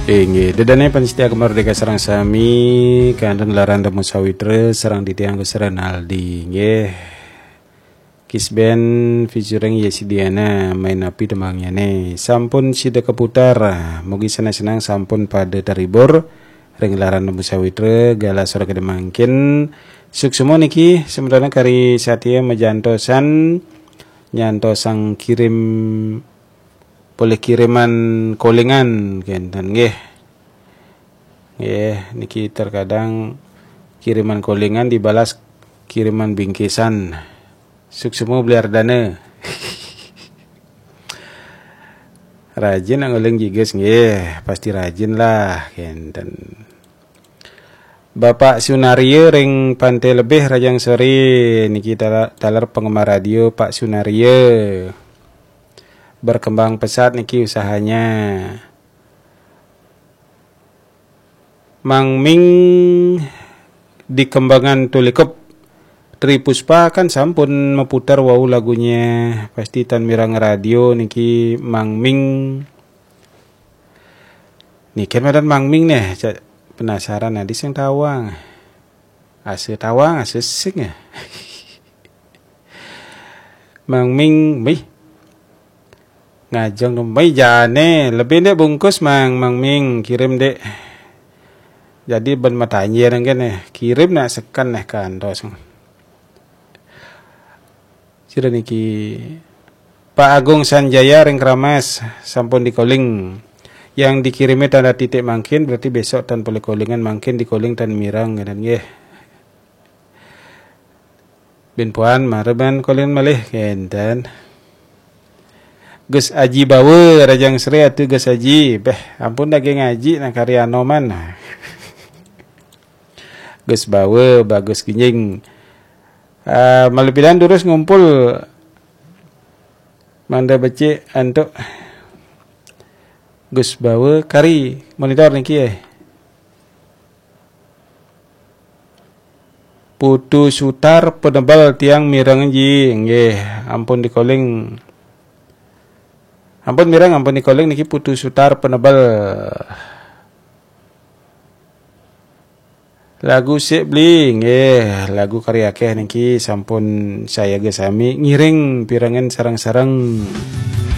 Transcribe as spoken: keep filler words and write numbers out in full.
Inggih, ida dané pamiarsa Gema Merdeka sareng sami, kantun Laranda Musawitra sareng titiang Gus Renaldi, inggih. Kisben featuring Yesi Diana, Main Api tembangnyané. Sampun sida kaputar, mugi seneng-seneng sampun pada terhibur ring Laranda Musawitra galah sore kedé mangkin. Suksma niki semeton kari satia majantosan nyantosang kirim polih kiriman kolingan kenten nggih. Nggih, niki terkadang kiriman kolingan dibalas kiriman bingkisan. Suksma beli ardana. Rajin nak nguling jigus nggih, pasti rajin lah kenten. Bapak Sunaria ring Pantai Lebih, rahajeng sore niki tala- taler penggemar radio Pak Sunaria. Berkembang pesat niki usahanya. Mang Ming di Kembangan Tulikup. Tri Puspa kan sampun maputar wau lagunya, pasti tan mireng radio niki Mang Ming. Niki madan Mang Ming neh, cak penasaran adi sing tawang. Asa tawang, asa sing ya. Mang Ming, mih. Ngajeng dong, mih jane. Lebih ndek bungkus Mang, Mang Ming, kirim ndek. Jadi ben matanya nang kene, kirim nak seken neh kantos. Sira niki Pak Agung Sanjaya ring Keramas sampun dikoling. Yang dikirimi tanda titik mangkin berarti besok tan polih kolingan, mangkin dikoling tan mireng kenten nggih. Bin puan mara ban kolingan malih kenten. Gus Aji Bawa, rahajeng sore atu Gus Aji. Beh, ampun daging ngaji nang kari Anoman. Gus Bawa, bagus ginjing. Ah, malu pidan durus ngumpul mangda becik antuk Gus Bawa kari monitor niki eh. Putu Sutar Penebel tiang mireng ji, nggih, ampun dikoling. Ampun mireng, ampun dikoling niki Putu Sutar Penebel. Lagu sik beli, nggih, lagu kari akeh niki sampun sayaga sami ngiring pirengan sareng-sareng.